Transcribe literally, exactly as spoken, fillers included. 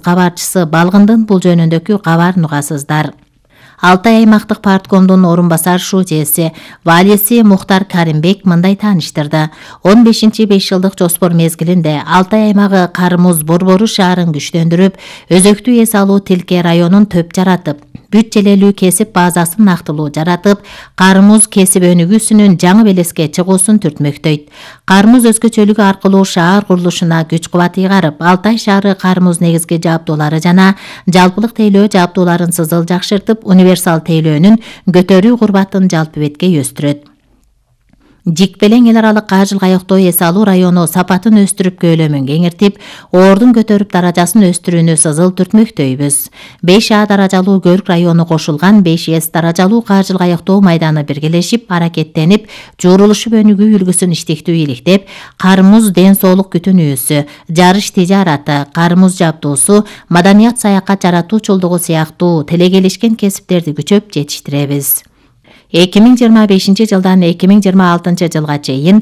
кабарчысы Балгындын бул жөнүндөгү кабарын угасыздар. Алтай аймактык парткомдун орун басар шужеси Валиси Мухтар Каримбек мындай тааныштырды. он бешинчи беш жылдык жоспор мезгилинде Алтай аймагы Кармуз Борбору шаарын күчтөндүрүп, өзөктүү эс алуу Тилке районун төп жаратып, бүт желелүү кесип базасын нактылуу жаратып, Кармуз кесип өнүгүүсүнүн жаңы белеске чыгуусун түртмөктөйт. Кармуз өзгөчөлүгү аркылуу шаар курулушуна күч кубат ыйгарып, Алтай шаары Кармуз негизги жабдуулары жана жалпылык тейлөө жабдууларын сызыл жакшыртып, универсал тейлөөнүн көтөрүү курбатын жалпы бетке өстүрөт. Жикпелең эл аралык ажыл каяктоо эс алуу району сапатын өстүрүп, көөлөмүн кеңиртип, ордун көтөрүп даражасын өстүрүүнү сызыл түртмөктөйбүз. беш А даражалуу Көрк району кошулган беш С даражалуу ажыл каяктоо майданы биргелешип, аракеттенип, жуурулушуп өнүгүү үлгүсүн иштиктүү иликтеп, Кармуз ден соолук күтүнүүсү, жарыш тижараты, Кармуз жабдуусу, маданият саякат жаратуучулдугу сыяктуу телегелишкен кесиптерди күчөп жетиштиребиз. эки миң жыйырма бешинчи жылдан эки миң жыйырма алтынчы жылга чейин